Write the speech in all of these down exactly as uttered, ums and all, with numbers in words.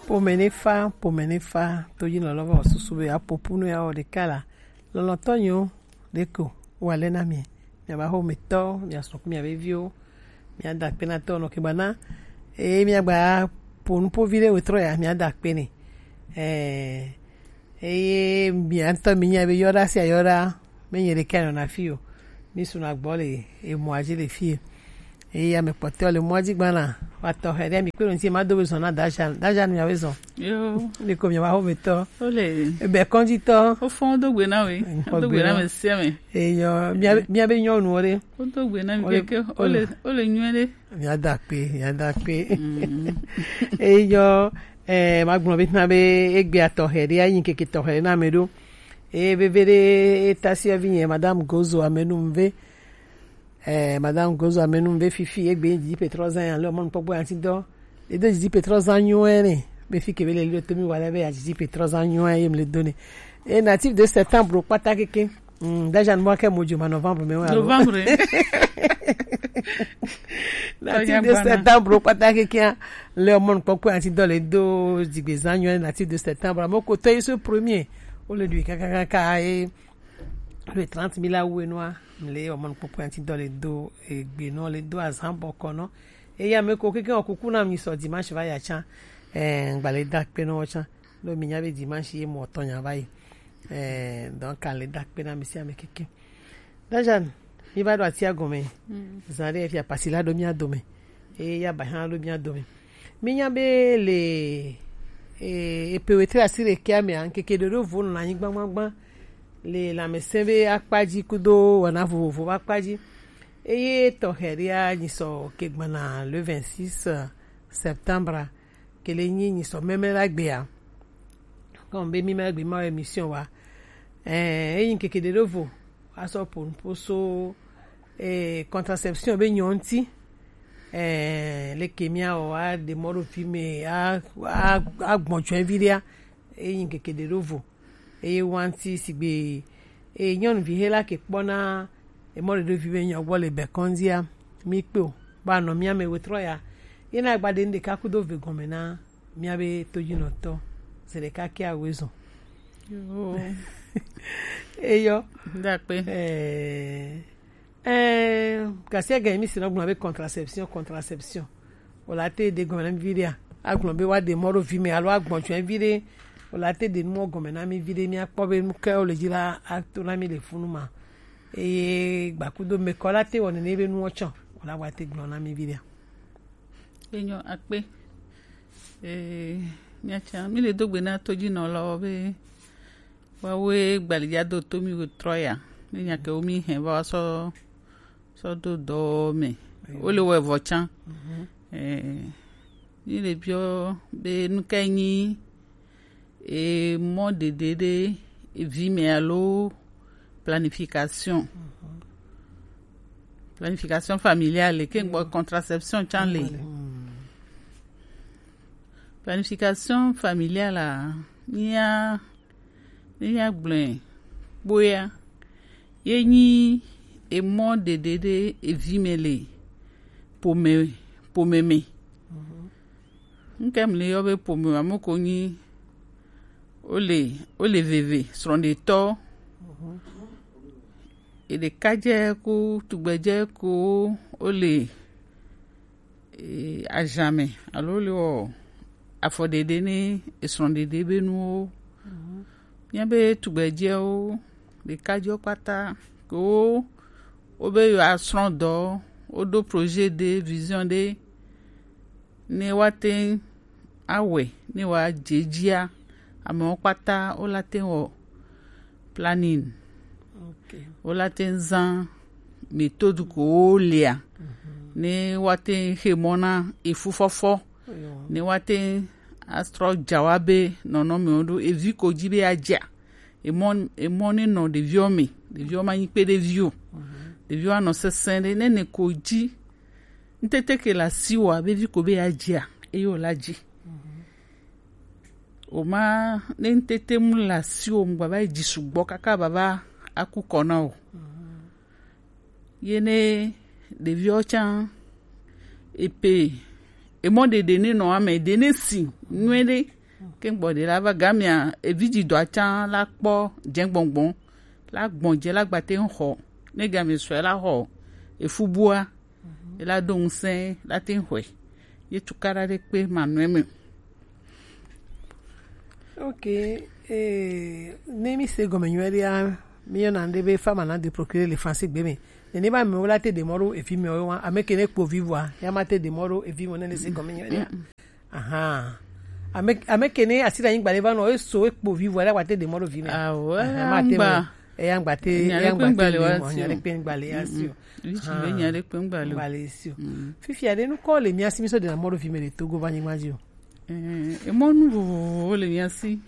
Pome ne fa, pome ne fa, to yi lɔlɔ vɔ susu be apopu no ya wɔ ɖeka la. Lɔlɔtɔ nyo ɖeko wa lɛ na mi. Mia ba xo mi tɔ, mia sɔ ku mia be viwo. Mia da kpe na tɔ nɔ ke ba na. E mia gba po nu po vi ɖe wetrɔ ya, mia da kpe ne. Eh, eye mia ŋutɔ mi nya be yɔɖa sia yɔɖa, me nye ɖeka nɔ na fi o. Mi su na gbɔ le emɔa dzi le fi. Eye ame kpɔtɔewo le mɔa dzi gbana. Wa tɔxɛ ɖe mi kpe ɖo ŋuti ma do be zɔn na Dajan. Dajan mia be zɔn. Yo. Mi ko mia ba xo mi tɔ. Ole. Ebe kɔnji tɔ. O fɔn do gbe na we. Nkɔ Do gbe gbe na na. Me sia me. Eyo, mia be, mia be nyɔnuwo ɖe. O do gbe na mi Ole, keke. Ole, ole. Ole nyuie ɖe. Mia da kpe, mia da kpe. Mm. Eyo, eh, ma gblɔ be na be egbe atɔxɛ ɖe, ayi keke tɔxɛ ɖe na me ɖo. Eye veve ɖe, eta si vi nye, Madame Gozo Amenumve. Eh, Madame Gozo Amenumve fifi, egbe didi petrɔ zan ya, le mɔnu kpɔkpɔ ya ŋuti dɔ. Edo didi petrɔ zan nyuie ne. Be fi ke be le li to mi wa le be ya didi petrɔ zan nyuie ye mi le do ne. E natif de septembre kpata keke. Mm, déjà, moi, que mojo ma novembre, mais ouais, alors. Novembre. Natif de Kanya bana. Septembre, kpata keke, le mɔnu kpɔkpɔ ya ŋuti dɔ le do didi zan nyuie, natif de septembre. Mo ko to yi so premier. O le du kaka kaka e. Le trente mille a wu enua, le o mɔnu kpɔkpɔ ya ŋuti dɔ le do egbe nɔ, le do azan bɔkɔ nɔ. Eye ame ko keke o kuku na mi sɔ dimanche va ya tsan. Eh, ngba le da kpe nɔ tsan. Ɖo mi nya be dimanche ye mɔ tɔ nya va yi. Eh, donc, ale da kpe na mi si ame keke. Dajan, mi va ɖo atia gɔme. Mm. Zan ɖe fia pasi la ɖo mia dome. Eye ya ba hã ɖo mia dome. Mi nya be le, eh, epe wetre asi ɖekɛ mea, ŋkeke ɖeɖo vo nɔ anyi gbagbagba. Le lãmesẽ be akpa dzi kudo wɔna vovovo be akpa dzi. Eye tɔxɛ ɖea nyi sɔ ke gbana le vingt-six septembre. Ke le nyi nyi sɔ mɛmɛ la gbea. Comme be mi ma gbe ma émission wa. Eh, eyi keke ɖeɖo vo. Asɔ po po so, eh, contraception be nyɔnti. Eh, le ke mia o a de mɔɖo fi me a, a, a gbɔn tsɔɛ vi ɖea. Eyi keke ɖeɖo vo. Eye wanti sigbe, e nyɔnuvi he la ke kpɔna emɔ ɖeɖo vi be nyɔ gbɔ le bɛkɔndzia, mi kpe o. Ba nɔ mia me wetrɔ ya. Ye na gba de nu ɖeka kudo ve gɔme na mia be tojinɔtɔ. Se ɖeka ke awe zɔn. Yo. Eyɔ. Dakpe. Eh, eh, gasia gɛ mi si nɔ gblɔ be contraception, contraception. O la te de gɔme na mi vi ɖea. Agblɔ be wa de mɔ ɖo vi me alo agbɔn tsɔe vi ɖe. O la te de nu mɔ gɔme na mi vi ɖe, mi akpɔ be nu ke o le dzi la ato na mi le funu ma. Eye gbakudo me kɔ la te wɔ nene be nuwo tsɔ. O la wa te gblɔ na mi vi ɖea. Enyo akpe. Eh, miatsa, mi le do gbe na tojinɔlawo be woawoe gbalidzado to mi wetrɔ ya. Ne nya ke wo mi hɛn va wa sɔ, sɔ do dɔ me. Wo le wɔ evɔ tsã. Mhm. Eh, mi le biɔ be nu ka nyi, eh, mɔ ɖeɖe ɖe evi me alo planification. Mhm. Planification familiale, ke gbɔ contraception tsã le. Mhm. Planification familiale a, mía, mía gblɔe kpoya, ye nyi emɔ ɖeɖe ɖe evi me le pome, pome me. Mhm. Ŋke mle yɔ be pome, ame ko nyi, wole, wole veve, srɔ̃ɖetɔ. Mhm. Eɖekadze ku tugbedze ko wole, eh, azã me, alo wole wɔ afɔɖeɖe ne esrɔ̃ɖeɖe be nuwo. Mhm. Míabe tugbedzewo, ɖekadzewo kpata, ko wo, wobe yewoasrɔ̃ dɔ, woɖo projet ɖe, vision ɖe, ne woate ŋu awɔe, ne woadze edzia, amewo kpata wola te ŋu wɔ planning. Ok. Wola te ŋu zã méthode ko wolea, mhm, ne woate ŋu xe mɔ na efufɔfɔ, eyo, ne woate ŋu atrɔ dza wa be nɔnɔmewo ɖo evi ko dzi be adzea. Emɔ, emɔ ne nɔ ɖeviwo me, ɖeviwo ma nyi kpeɖevi o. Mhm. Ɖeviwo anɔ sesẽ ɖe, ne ne ko dzi ŋtete ke le asiwòa be vi ko be yeadzia, eye wòle adzi. O ma, ne ŋtete mu le asiwò mu gbava yi dzi sugbɔ kaka bava aku kɔ na o. Ye ne ɖeviwo tsã, epe, emɔ ɖeɖe ne nɔ ame ɖe ne si nyuie ɖe. Ke gbɔ ɖe la va gamia evi dzi dɔ atsa la kpɔ dze gbɔngbɔn la gbɔn dze la gbate ŋxɔ ne gamia sɔe la xɔ efu bua ela do ŋusẽ la te ŋxɔe ye tukaɖa ɖe kpe manɔe me. Ok. Eh, ne mi se gɔme nyuie ɖea, mi yɔna ɖe be femme en âge de procurer le français gbe me. Nene ba me wala te de moro evi me wa ame ke ne kpo vivwa ya ma te de moro evi mo ne ne se gɔme nyuie ɖea. Aha. Ame ame ke ne asi da nyigba le va no eso ekpo vivwa la wa te de moro vi me. Awe. Aha, ma te mo. Eya ngba te eya ngba te le mo nya le pe ngba le ya si o. Vici be nya le pe ngba le. Ngba le si o. Fifi ade nu ko le mi asi mi so de na moro vi me le Togo ba nyigba ji o. Eh, e mo nu vovovo le mi asi.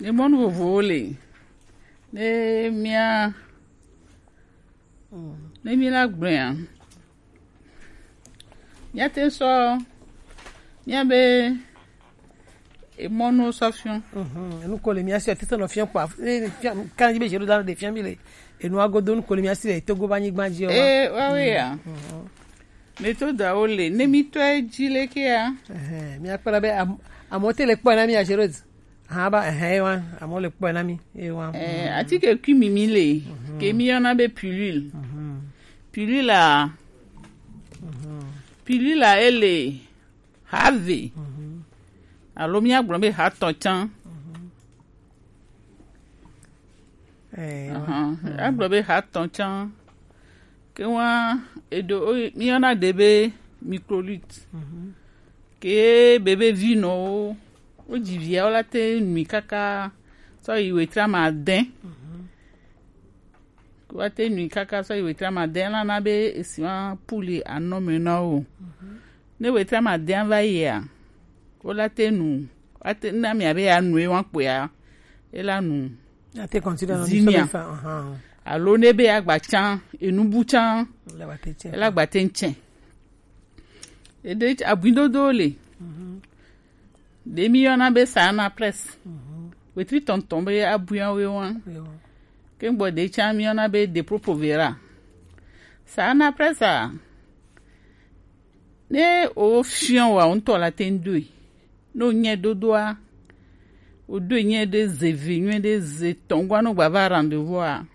Ne mɔnu vovowo le ne mía ne mí la gblɔea míate sɔ míabe emɔnuwo sɔ fiɔ. Enu ko le mía si ɔtete nɔ fiɔ kpa kan yi be zero dan de fiɔ mi le enu agodo nu ko le mía si le Togo ba nyigba ji o. Ee wawe ya. Metodawo le ne mítɔe dzi lekea. Míakpɔna be amewo te le kpɔe na mí azerod. Hã ba ehẽ ewa amewo le kpɔe na mí ewa. Atike kui mimi le ke mí yɔna be pilule. Pilule a pilule a ele ha eve alo míagblɔ be ha etɔ̃ tsã. Agblɔ be ha etɔ̃ tsã ke wa eɖo míyɔna ɖe be microlite ke bebe vi nɔwo wodzi viawo la te nui kaka sɔ yi wetri ame ade. Wa te nui kaka sɔ yi wetri ame ade la na be esi wa puli anɔ me na wo. Ne wetri ame ade va yia wo la te nu wa te na mia be ya nu ewa kpoya e la nu. Ate continue no zinia. Alo ne be agba tsã enubu tsã e la gba te ŋtsɛ. Eɖe abuidodo le ɖe mi yɔna be sana press wetri tɔntɔn be abuiawo wa ke gbɔ ɖe tsã mi yɔna be de propre vera. Sana press a ne o fiɔ wa ŋutɔ la te ŋ doe. Ne wònye ɖoɖoa, wòɖoe nyuie ɖe ze vi nyuie ɖe ze tɔ̃gua ne wògba va rendez-vous a,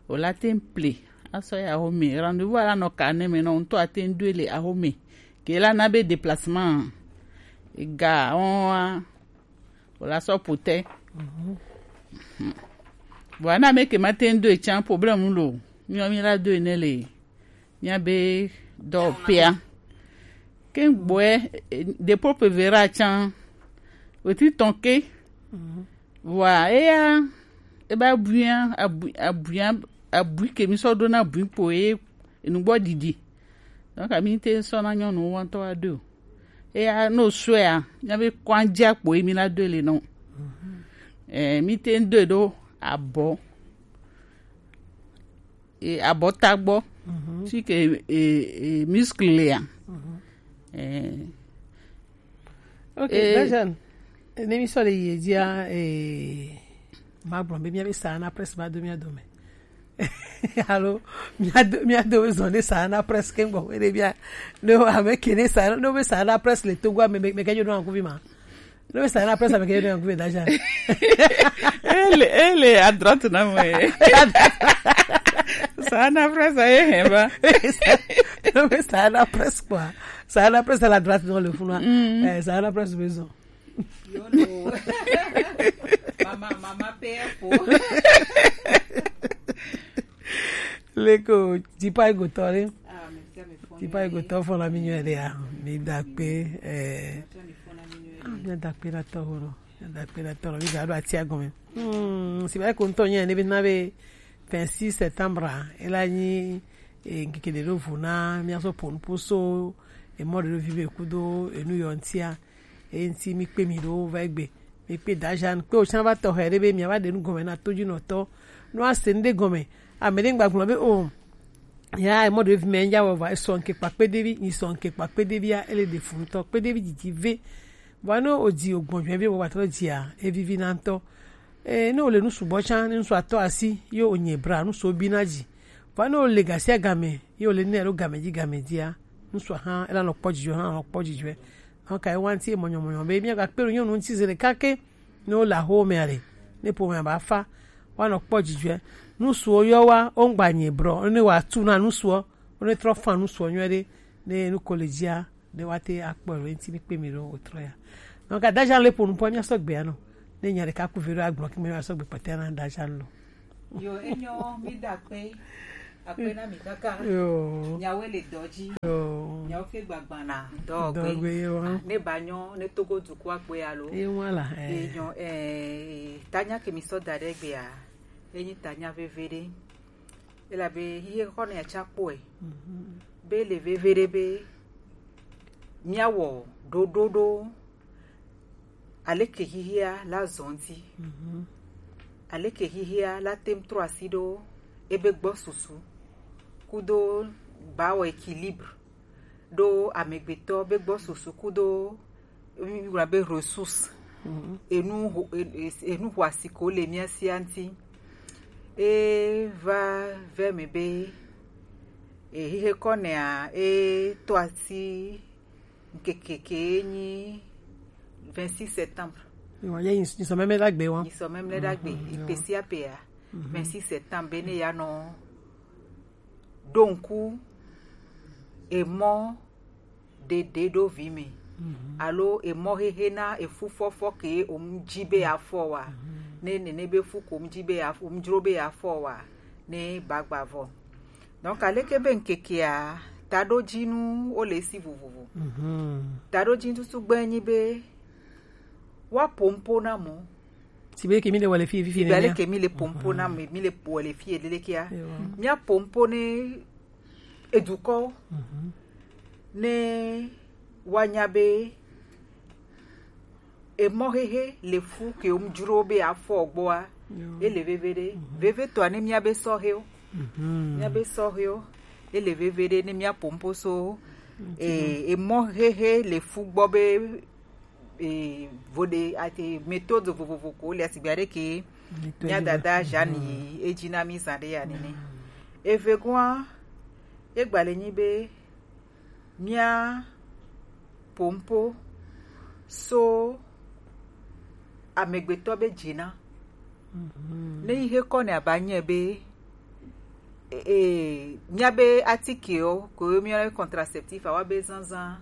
wòla te ŋ ple asɔ yi axome. Rendez-vous a la nɔ ka ne me nɔ ŋutɔ ate ŋ ɖoe le axome. Ke la na be déplacement ga wɔn a wòla sɔ ƒo te. Vɔa ne ame ke ma te ŋ ɖoe tsã problème lo. Míawo mí la ɖoe ne le míabe dɔwɔƒea. Ke gbɔɛ de propre vera tsã wetri tɔn ke. Vɔa eya eba buia abuia abui ke mi sɔ ɖo na bui kpo ye enugbɔ ɖiɖi. Donc ami te sɔ na nyɔnu wa ŋutɔ wa ɖo. Eya no sɔea míabe kɔn dzi akpo ye mi la ɖo le nɔ. Eh, mi te ŋ ɖoe ɖo abɔ. E, abɔta gbɔ. Fi ke e, e, muscle lea. Eh. Ok. Eh, Dajan, ne mi sɔ le yi dzia, eh, ma gblɔ be míabe sana press ma do mía dome. Alo mía do mía do zɔ ne sana press ke gbɔ ne mía ne ame ke ne sana ne be sana press le Togo ame me ke jo no ankuvi ma. No be sana press ame ke no ankuvi Dajan. Ele ele à droite na mo. Sana press aye hemba. No be sana press quoi. Sana press à la droite dans le fond. Eh, sana press besoin. Yo no. Mama mama père po. Leko tipa igotɔ le. Tipa igotɔ fɔna mi nyuie ɖea mi da kpe. Eh, mi da kpe na tɔho no. Mi da kpe na tɔho mi da ɖo atia gɔme. Hmm, si ba ko ŋutɔ nyuie ne bi na be vingt-six septembre ela nyi eh, ŋkeke ɖe ɖo vo na mi asɔ ponu poso emɔ ɖe ɖo vi be kudo enu yɔ ŋtia. Eyi ŋuti mi kpe mi ɖo va egbe. Mi kpe Dajan kpe wòtsã va tɔxɛ ɖe be miava ɖe nu gɔme na todzinɔtɔ. No ase nu ɖe gɔme. Ame ɖe ŋgba gblɔ be o ya emɔ ɖevi mɛ ŋdza wɔ va esɔ ŋke kpa kpeɖevi nyi sɔ ŋke kpa kpeɖevia ele ɖe fu ŋutɔ kpeɖevi dzidzi ve. Vɔa ne wòdzi wògbɔn dzɔɛ be wògba trɔ dzia evivi na ŋutɔ. Ee, ne wòle nu sugbɔ tsã ne ŋutsu atɔ asi ye wònyɛ bra ŋutsuwo bi na dzi. Vɔa ne wòle gasia game ye wòle nɛ alo game dzi game dzia Ŋutsu hã ela nɔ kpɔ dzidzɔ, hã nɔ kpɔ dzidzɔ. Donc ewa ŋuti mɔnyɔmɔnyɔ be míagakpe ɖo nyɔnu ŋuti zi ɖeka ke ne wole axowo mea ɖe, ne ƒomea ba fa, woanɔ kpɔ dzidzɔe. Ŋutsuwo yɔ wa, wo ŋgba nye brɔ, ne wòatu na ŋutsuɔ, wo ne trɔ fa ŋutsuɔ nyuie ɖe, ne nu ko le dzia, ne woate akpɔ le ŋuti mi kpe mi ɖo wòtrɔ ya. Donc, Adajan le ƒo nu ƒo, míasɔ gbea nɔ. Ne nya ɖeka ku ve ɖo agblɔ, ke me míasɔ gbe kpɔtɛ na Adajan lo. Yo, enyo, mi da akpe. Akpe na mi kaka. Yo. Nyawoe le dɔ dzi. Yo. Nyawo ke gbagbã na dɔ gbe. Dɔ gbe, yo. Ah, ne ba nyɔ, ne Togo dukɔa kpe alo. Ye ŋua la, eh. Enyo, eh, tanya ke mi sɔ da ɖe gbea, enyi tanya veve ɖe. Elabe hihe xɔ ne atsa kpɔe. Mhm. Be le veve ɖe be míawɔ ɖoɖo ɖo aleke hihia la zɔ ŋuti. Mhm. Aleke hihia la te ŋu trɔ asi ɖo ebe gbɔ susu kudo ba wɔ équilibre ɖo amegbetɔ be gbɔ susu kudo, mígblɔna be ressource. Mhm. Enu ho-, e-, e-, enu xɔasi ko le mía sia ŋuti. E va ve me be, e, hihe kɔ nɛa, e to asi ŋkeke ke nyi vingt-six septembre. Yo, ye nyi, nyi semaine la gbe wa. Nyi semaine la gbe. Mhm, yo. Ipesi apea, mhm, vingt-six septembre, be ne ya nɔ ɖo ŋku emɔ ɖeɖe ɖo vi me. Mhm. Alo emɔ hehe na efu fɔfɔ ke o mu dzi be afɔ wa. Mhm. Ne nene be fu ko mu dzi be afɔ, mu dzro be afɔ wa, ne bagba vɔ. Donc, aleke be ŋkekea, taɖodzinu wo le si vovovo. Mhm. Taɖodzinu tutu gbe nyi be wa pompo na mɔ. Si be ke mi le wale fi, fi, fi, sigbe ne aleke mi le pompo na, mhm, mi, mi le wale fi, edelekea. Ewa. Mía pompo ne edukɔwo. Mhm. Ne woanya be emɔ hehe le fu ke wo mu dzro be afɔ gbɔa, yo, ele veve ɖe. Mhm. Veve tɔa ne mía be sɔhewo. Mhm. Mía be sɔhewo, ele veve ɖe ne mía pompo so, mhm, e, emɔ hehe le fu gbɔ be, e, vo ɖe, ate, méthode vovovo ko le asigbe aɖe ke. Méthode mía dada vovovo. Jeanne yi edzi na mí zã ɖe ya nene. Mhm. Evegɔa, egba le nyi be mía pompo so amegbetɔ be dzina. Mhm. Ne yi he kɔ ne aba nye be, e, e, mía be atikewo, ko mía be contraceptif, awa be zanzan,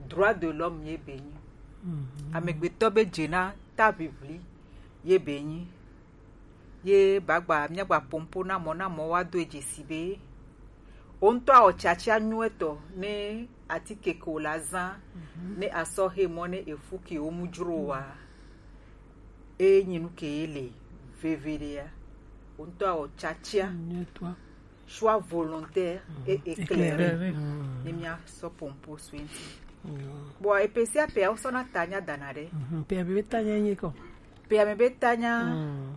droit de l'homme ye be nyi. Mhm. Amegbetɔ be dzina ta bibli ye be nyi. Ye bagba, míagba pompo na mɔ, na mɔ wa do dzesi be, wo ŋutɔ awɔ tiatia nyuietɔ ne atike ke wo la zã, mhm, ne asɔ he mɔ ne efu ke wo mu dzro wa. E nyi nu ke ye le veve ɖea. Wo ŋutɔ awɔ tiatia. Nyuietɔa. Choix volontaire, mhm, et éclairé. Éclairé. Mhm. Ne mía sɔ pompo so ŋuti. Yo. Bon, epe sia pea, wo sɔ na tanya dana ɖe. Mhm. Pea be tanya nyi kɔ. Pea me be tanya. Mhm.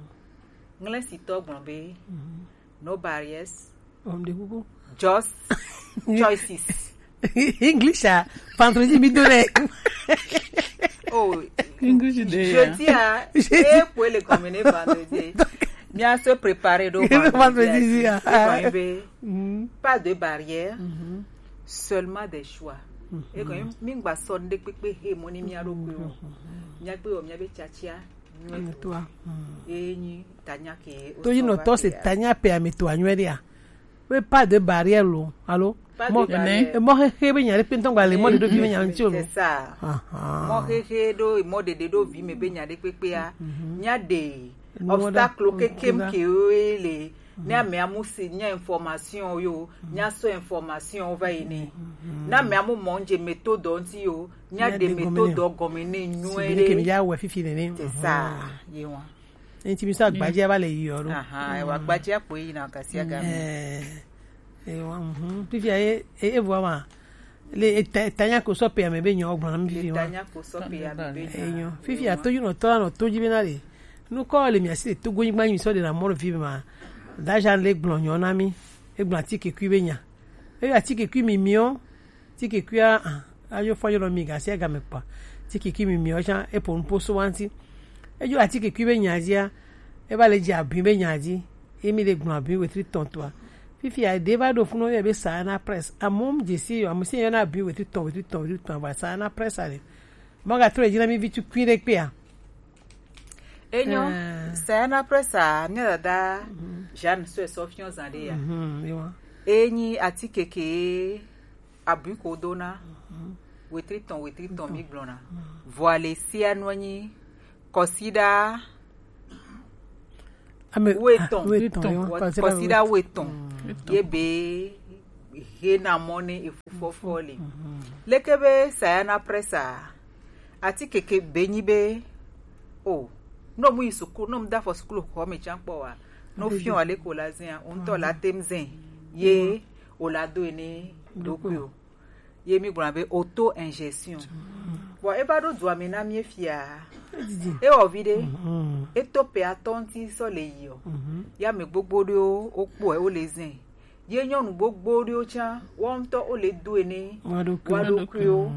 Ŋlɛsitɔ gblɔ be, mhm, no barriers. Ɔm de kuku. Just choices. English a, vendredi mi do le. Oh, English de ya. Jeudi a, e po le comme ne vendredi. Mía se préparer do vendredi. Vendredi, ya. E ko be, mhm, pas de barrière, mhm, seulement des choix. Mhm. E ko mi ngba sɔ nde pepe he mo ni mía ɖo ko. Mhm. Mía gbe o mía be tiatia. Nyuie to. Toi. Hmm. Enyi tanya ke. To yi no to se tanya pe ame to anyuie dia. We pas de barrière lo. Allô? Pas de barrière. E mo he he be nya le pe ntɔn gba le mo de do vi me nya nti o lo. C'est ça. Ah, ah. Mo he he do mo de de do vi me be nya de pepe a. Mhm. Nya de obstacle ke kem ke we le. Ne ame amu si nya information yo, nya so information va yi ne. Ne ame amu mɔ nje méthode nti yo, nya de méthode gɔme ne nyuie. Si be ke mi ya wɔ fifi nene. C'est ça, ye wa. Enti mi so agbadze va le yi ɔɖo. Aha, e wa agbadze akpo yi na kasi aga. Eh, e wa, mhm. Fifi a ye, e, e vɔ ma. Le eta, etanya ko sɔ pe ame be nyɔ gblɔ na mi fifi ma. Etanya ko sɔ pe ame be nyɔ. Enyo. Fifi a to yi nɔ tɔ la nɔ to dzi be na le. Nu kɔ le mi asi le Togo nyigba nyi mi sɔ de na mɔ vi ma. Dajan le gblɔ nyɔ na mi. E gblɔ atike kui be nya. E atike kui mi miɔ. Atike kui a, ah, ayo fɔ yɔ mi ga si ga me kpa. Atike kui mi miɔ jan e po nu po so wanti. E jo atike kui be nya dia. E ba le dzi abi be nya di. E mi le gblɔ abi wetri tɔntɔa. Fifia ɖe va ɖo funu yɔ be Sayana Press. Amewo mu dzesi yɔ, ame si yɔna abi wetri tɔn, wetri tɔn, wetri tɔn, va Sayana Press ale. Mɔ ga trɔ dzi na mi vi tukui ɖe kpea. Enyo, Sayana Press a, mía dada Jeanne sɔe sɔ fiɔ zan ɖe ya. Mhm, yewa. Enyi atike ke abui ko dona. Wetri tɔn, wetri tɔn mi gblɔna. Vɔ ale sia nɔ nyi kɔsiɖa Ame wetɔn. Ah, wetɔn, yo, kɔsiɖa wetɔn. Ye be he na mɔ ne efufɔfɔ le. Leke be Sayana Press a, atike ke be nyi be, o, no mu yi sukulu, no mu da fɔ sukulu xɔ me tsan kpɔ wa. No fiɔ ale ko la zɛn, o ŋutɔ la tem zɛn. Ye o la do ene ɖokui o. Ye mi gblɔna be auto ingestion. Bon, e va ɖo dua me na mi fia. Ewɔ vi ɖe. Eto pe atɔ ŋuti sɔ le yi o. Ya me gbogbo ɖewo wo kpɔe wo le zɛn. Ye nyɔnu gbogbo ɖewo tsã, wo ŋutɔ wo le do ene. Wa ɖokuiwo. Wa ɖokuiwo.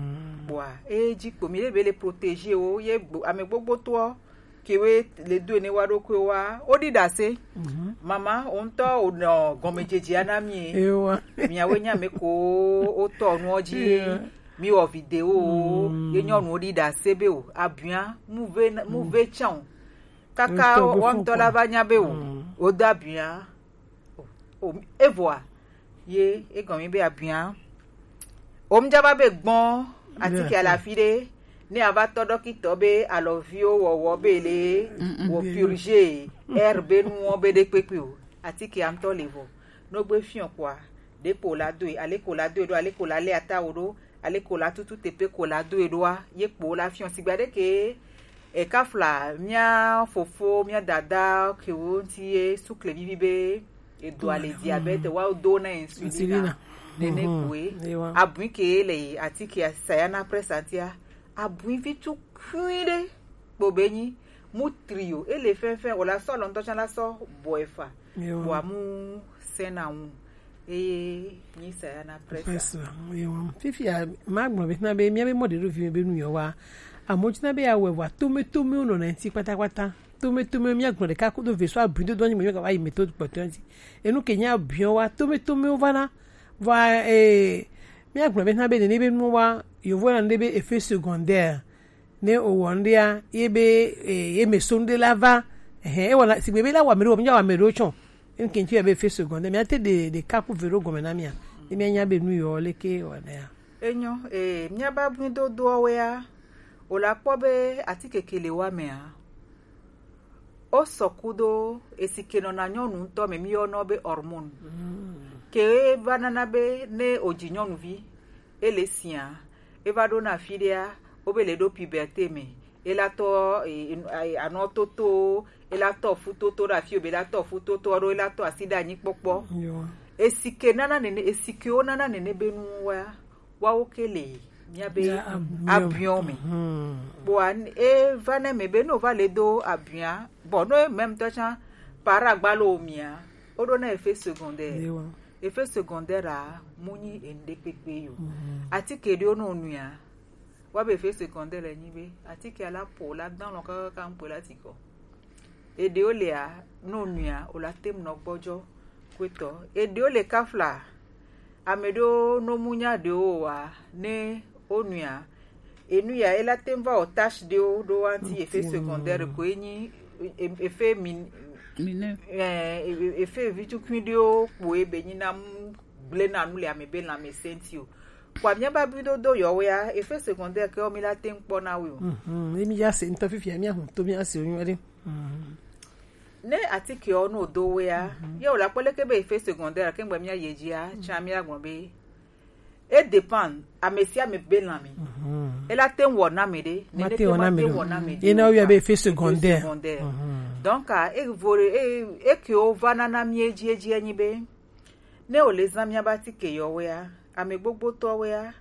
Bɔa, e dzi kpo mi ɖe be le protéger wo, ye gbo-, ame gbogbo tɔ ke we le do ene wa ɖokui wa, wo ɖi ɖase. Mama, wo ŋutɔ wo nɔ gɔmedzedzea na mi. Ewa. Miawo nya me ko wo tɔ nuɔ dzi. Ewa. Mi wɔ video wo, ye nyɔnuwo ɖi ɖase be o, abuia, mu ve, mu ve tsã o. Kaka wo ŋutɔ la va nya be o, wo do abuia. O, o, evɔa, ye egɔme be abuia. Omdza va be gbɔn atike alafi ɖe, ne ava tɔ ɖɔkitɔ be alɔviwo wɔwɔ be le wɔ purge, air be nuwo be ɖe kpekpe o. Atike ŋutɔ le vɔ. No gbe fiɔ kɔa, ɖe ko la doe, ale ko la doe ɖo, ale ko la le atawo ɖo, ale ko la tutu tepe ko la doe ɖoa, ye kpo la fiɔ. Sigba ɖe ke e kafla mia fofo, mia dada kewo ŋuti ye sukle vivi be edo ale diabète wa do na insulina. Insulina. Nene kue. Abui ke le atike Sayana Press atia. Abui vi tukui ɖe kpo be nyi mu trio, ele fɛnfɛn, o la sɔ lɔntɔ tsã la sɔ bɔ efa. Wa mu sɛna ŋu. Eye nyi Sayana Press. Press, ewa. Fifia, ma gblɔ be na be mia be mɔ ɖe ɖo vi me be nu yɔ wa. Amewo tsina be ya wɛ vɔa, tome tome wo nɔna ŋuti kpatakpata. Tome tome mia gblɔ ɖeka kudo ve so abui dodo anyi me yɔ ga wa yi me to kpɔtɔ ŋuti. Enu ke nya biɔ wa, tome tome wo va na. Vɔa, eh, mia gblɔ be na be nene be nu wa, yovo na ne be effet secondaire. Ne o wɔ ŋɖea, ye be, eh, ye me so ŋɖe la va. Ehe, e wɔna, sigbe be la wa me ɖo, mi wa me ɖo tsɔ. Ŋke ŋtsi ya be effet secondaire, mia te ɖe, ɖe kaku ve ɖo gɔme na mia. Ne mia nya be nu yɔ leke wɔna ya. Enyo, eh, mia ba bui dodoa wea, o la kpɔ be atike ke le wa mea. O sɔ kudo esi ke nɔna nyɔnu ŋutɔ me mi yɔnɔ be hormone. Ke va nana be ne o dzi nyɔnuvi, ele sia, eva ɖo na afi ɖea, wobe le ɖo puberté me, ela tɔ, e, e, e, anɔ toto, ela tɔ fu toto ɖe afi o, be la tɔ fu toto ɖo, ela tɔ asi ɖe anyi kpɔkpɔ. Esike nana nene, esikewo nana nene be nu wa, wawo ke le mia be abiɔ me. Kpoa e va ne me be no va le do abiɔ, bon, no même temps tsã, para gbalo mia, o ɖo na effet secondaire. Effet secondaire a, mu nyi enu ɖe kpekpe yo. Atike ɖewo no nuia, wa be effet secondaire le nyi be, atike la po la dan lɔ kakaka ŋkpe la ti kɔ. Eɖewo lea, no nuia, o la tem nɔ gbɔdzɔ kwetɔ. Eɖewo le kafla, ame ɖewo no mu nya ɖewo wa, ne o nuia, enu ya, ela tem va o tâche ɖewo ɖo wa ŋti effet secondaire ko enyi, e-, effet min-, eh, e-, effet vitukui ɖewo kpo ebe nyi na mu gble na nu le ame be lãmesẽ ŋti o. Kpoa mia ba bi dodo yɔ wea, effet secondaire ke o mi la tem kpɔ na we o. Mhm, emi ya se ŋtɔ fifia mia hu to mia se o nyuie ɖe. Ne atikewo no do wea, ye o la kpɔ leke be effet secondaire ke ŋgbe mia ye dzia, tsã mia gblɔ be e dépend ame sia ame be lãme. Ela te wɔ na me ɖe, nene te ma te wɔ na me ɖe. Ye na o yɔ be effet secondaire. Donc, a, e vore, e, e ke o va nana mi edzi edzi enyi be, ne o le zã mia ba atike yɔ wea, ame gbogbo tɔ wea,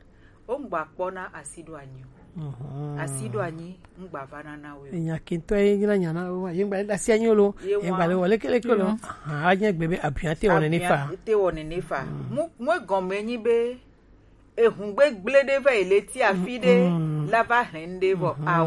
o ŋgba kpɔ na asi ɖo anyi o. Asi ɖo anyi ŋgba va nana we o. Enya kentɔ ye nyina nya na wa, ye ŋgba le asi anyi o lo, ye ŋgba le wɔ leke leke lo. Aha, a nya gbe be abiɔ te wɔ nene fa. Abiɔ te wɔ nene fa. Mu, mu egɔme nyi be, ehun gbegble ɖe va yi le ti afi ɖe la va hlẽ ɖe vɔ ao.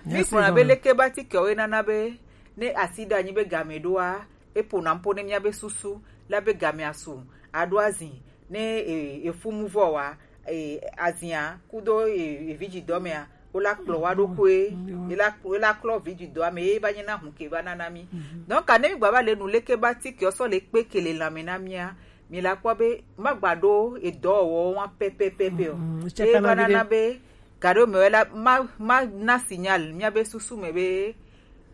Mi gblɔna be leke ba atikewo ye nana be ne asi ɖo anyi be game ɖoa, e ƒona ƒo ne mia be susu la be game asu. aɖo azin ne e, efu mu vɔ wa e, azia kudo e, evi dzi dɔ mea, wola kplɔ wa ɖo koe, ela ela klɔ vi dzi dɔa me ye ba nye na hun ke va nana mi. Donc ne mi gba va le nu leke ba ti ke sɔ le kpe ke le lãme na mia, mi la kpɔ be ma gba ɖo edɔ wɔ wa pɛpɛpɛpɛ o. Ye va nana be gaɖo me la ma ma na signal mia be susu me be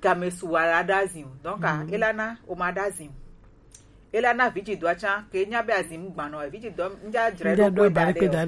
game su wa la ɖa zin o. Donc ela na o ma ɖa zin o. Ela na vi dzi dɔa tsa ke nya be azin mu gbanɔ vi dzi dɔ ŋdza dzre ɖo kpe da ɖe o.